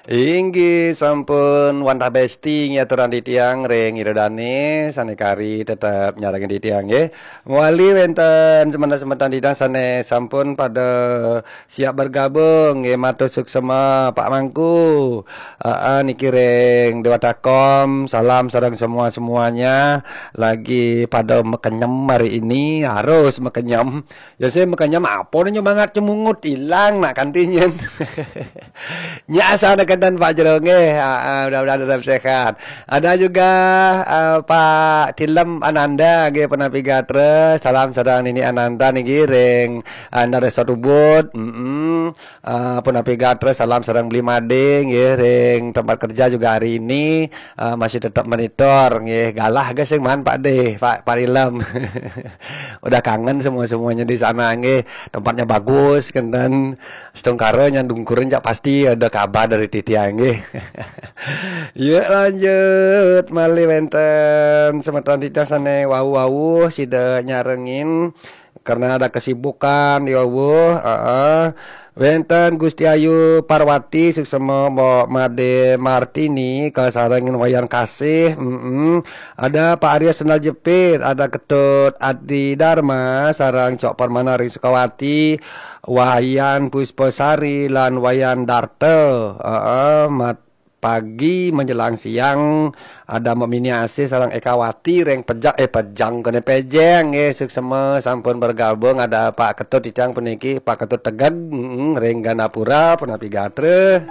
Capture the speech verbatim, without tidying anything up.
Inggih sampun wantah besti nggih aturan titiang ring Ida Dane sane kari tetep nyarengin titiang nggih. Mawali wenten semeton-semeton titiang sane sampun pada siap bergabung nggih, matur suksema Pak Mangku. Heeh, niki ring Dewata Kom, salam sareng semua-semuanya. Lagi pada makenyem hari ini, harus makenyem. Ya sih, makanya apa nih nyemangat cemungut hilang nak kantinnya. Nya asal deketan Pak Jero nggih. Ha, ha, mudah-mudahan tetap sehat. Ada juga eh, Pak Tilem Ananda nggih, punapi gatra. Salam sareng Nini Ananda niki ring Anda Resort Ubud. Mm-mm. Eh, punapi gatra, salam sareng Beli Made nggih, ring tempat kerja juga hari ini eh, masih tetap monitor nggih. Galah ge sing maan Pak De, Pak Pak Tilem. Udah kangen semua-semuanya di sana nggih. Tempatnya bagus kenten. Setungkara nyandungkurin cak pasti ada kabar dari titiang nggih. Yuk lanjut malih wenten semeton titiang sane wau-wau sida nyarengin karena ada kesibukan di wau. Heeh. Wenten Gusti Ayu Parwati suksema Mbok Made Martini kasarengin Wayan Kasih. Mm-mm. Ada Pak Arya Sendal Jepit, ada Ketut Adi Dharma, sareng Cok Permana ring Sukawati, Wayan Puspasari lan Wayan Darta. Heeh, mat pagi menjelang siang ada Mbok Mini Asih sareng Ekawati ring Pejang, eh Pejang kene Pejeng nggih, suksema sampun bergabung, ada Pak Ketut titiang puniki, Pak Ketut Tegeg, mm, ring Gandapura punapi gatra.